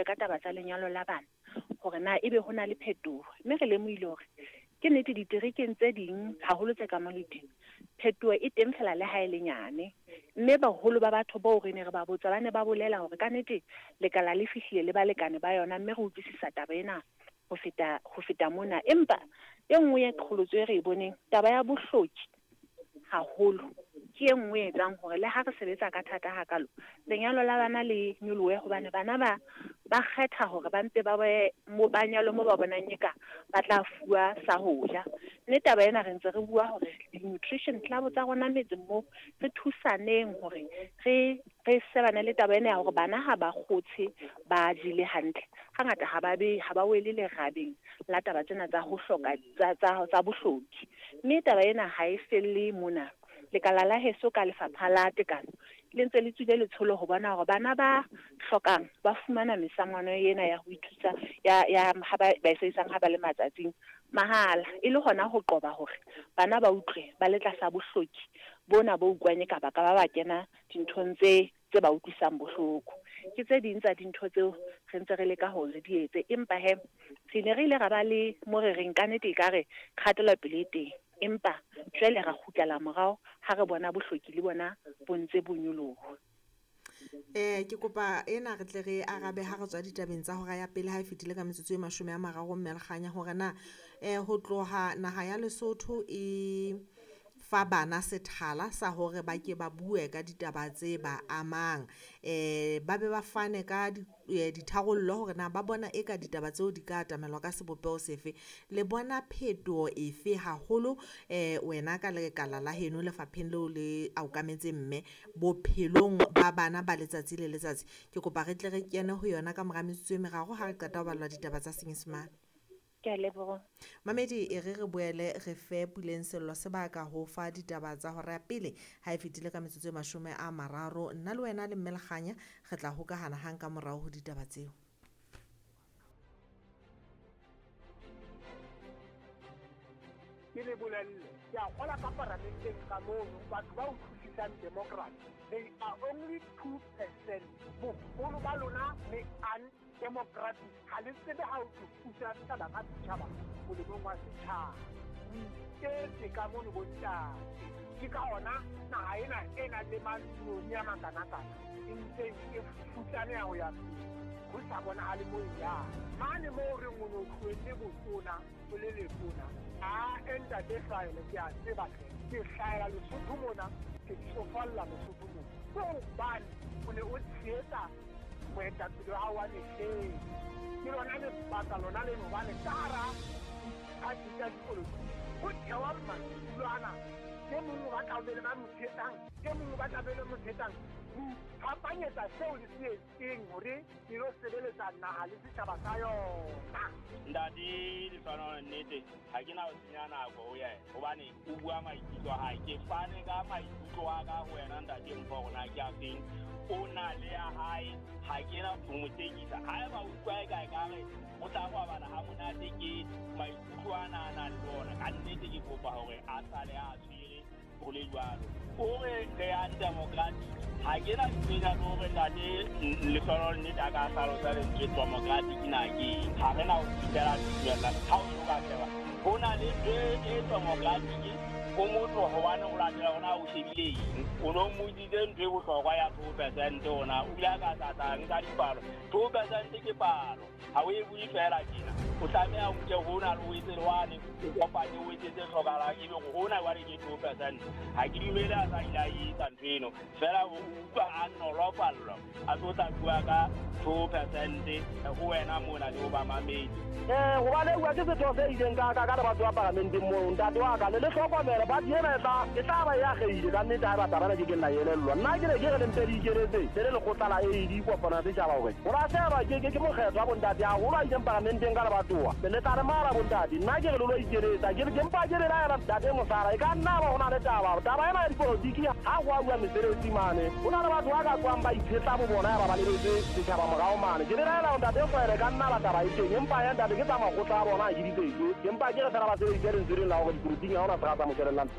bue ka taba tsa lenyalo la bana hore na ebe ho na le phetoho. Mme re lemohile hore ke nnete diterekeng tse ding haholo tse ka Maluti phetoho e teng fela le ha e le nyane. Mme baholo ba batho bao re ne re ba botsa ba ne ba bolela hore ka nnete lekala le fihlile le balekane ba yona mme re utlwisisa taba ena ho feta mona. Empa e nngwe ya qholotso e re e boneng, taba ya bohloki haholo ke e nngwe e etsang hore le ha re sebetsa ka thata hakalo lenyalo la bana le nyolohe, hobane bana ba kgetha hore ba mpe ba be mo ba nyalwe mo ba bonang eka ba tla fuwa sa ho ja. Mme taba ena re ntse re bua hore di-nutrition club tsa rona metseng moo re thusaneng hore re sebane le taba ena ya hore bana ha ba kgotshe ba jele hantle. Hangata ha ba wele lerabeng la taba tsena tsa ho hloka tsa bohloki. Mme taba ena ha e felle mona. Lekala la heso ka lefapha la tekano le ntse le tswile letsholo ho bona hore bana ba hlokang ba fumana mesangwana ena ya ho ithusa ya ha ba e sebedisang ha ba le matsatsing mahala, e le hona ho qoba hore bana ba utlwe ba le tlasa bohloki bona bo utlwang ka baka ba kena dinthong tse ba utlwisang bohloko. Ke tse ding tsa dintho tseo re ntse re leka hore re di etse, empa he re ne re ile ra ba le mo re reng ka nnete ekare kgatelopele e teng, empa jwale ra kgutlela morao ha re bona bohloki le bona bo ntse bo nyoloha. Ke kopa ena re tle re arabe ha re tswa ditabeng tsa hora ya pele ha e fetile ka metsotso e 30 mme Lekganya hore na ho tloha naha ya Lesotho e fa bana sethala sa hore ba ke ba bue ka ditaba tse ba amang, ba be ba fane ka ditharollo hore na ba bona eka ditaba tseo di ka atamelwa ka sebopeho sefe. Le bona phetoho efe haholo wena ka lekala la heno lefapheng leo le okametseng mme bophelong ba bana ba letsatsi le letsatsi? Ke kopa re tle re kene ho yona ka mora metsotso e meraro ha re qeta ho ballwa ditaba tsa Senyesemane. Ke a leboha. Mamedi, e re boele re fe Puleng Sello sebaka ho fa ditaba tsa hora ya pele ha e fetile ka metsotso e 30. Nna le wena le mme Lekganya re tla hokahana hang ka morao ho ditaba tseo. Ke le bolelle, ke a kgola ka paramenteng ka mono batho ba utlwisisang democracy, they are only 2%. Boholo ba lona le undemocratic, ha le tsebe ha o thusa setjhaba ka setjhaba molemong wa setjhaba. O iketse ka mono bontate, ke ka ona naha ena e nang le mantsione a makanakana e ntse e futsaneha ho ya pele, ho sa bonahale mo e yang. Mane moo re o no tlohelle botona o le letona, a ntate Hlwaele ke a tseba hle, ke hlahela Lesotho mona, ke tsofalla Lesotho mona. Ke hobane o ne o tshehetsa moetapele wa hao wa mehleng. Ke lona lebaka lona leno hobane ka hara diphathi tsa dipolotiki ho thewa madulo ana, e mong o batla ho be le ba mo tshehetsang, e mong o batla be le mo tshehetsang. Ho iphapanyetsa seo le se etseng hore le lo sebeletsa naha le setjhaba sa yona. Ntate Lehlohonolo, nnete ha ke na ho senya nako ho yena hobane o bua maikutlo a hae. Ke fane ka maikutlo a ka ho wena ntate Mpho hore na ke a feng. O na le ya hae, ha ke na ho mo tekisa. Haeba o utlwa eka ekare o tla robala ha monate ke maikutlo ana a nang le ona, ka nnete ke kopa hore a sale a tshwere ho le jwalo. O re re undemocratic, ha ke na ntho le hore ntate Lehlohonolo nnete a ka hlalosa lentswe democratic na ke eng. Ha re na ho fihlela tumellano ha o so ka sheba ho na le ntho e democratic o motho hobane o latela hore o shebile eng. O no mmotsitse ntho e bohlokwa ya 2% hona o ile a ka tlatla nka dipalo. 2% ke palo, ha o e bue fela tjena. O tlameha o nke hona le o etse le wane, o kopanye o etse tse hlokahalang, ebe hore hona jwale ke 2%. Ha ke dumele a sa ile a etsa ntho eno, fela o utlwa a nolofallwa a tlo tla bua ka 2% ho wena mona le ho ba mamedi. Hobane bua ke setho se ileng ka ka le batho ba paramenteng moo ntate wa ka le le hlokomele ba ena e tla ba ya kgeile ka nnete ha ba taba na ke ke nna elellwa. Nna ke ne ke re le mpe le ikeletse le le lekgotla la AD kopano ya setjhaba hore ho lahlehelwa ke mokgetho wa bontate haholo a ileng paramenteng ka lebatowa le tla re mara bontate. Nna ke re le lo ikeletsa ke mpa ke le laela ntate Mosara e ka nna ba ho na le taba ena ya dipolotiki ha ho a bua mesebetsi mane ho na le batho ba ka tswang ba itshetla bo bona ya ba ba lebetse setjhaba morao mane. Ke le laela ntate Hlwaele ka nna ba taba e teng, empa ya ntate ke tsa makgotla a bona ha ke di tsetse, empa ke re fela ba sebedise lentswe leng la hore dipolotiking ha hona se ka tsa moshwelellang.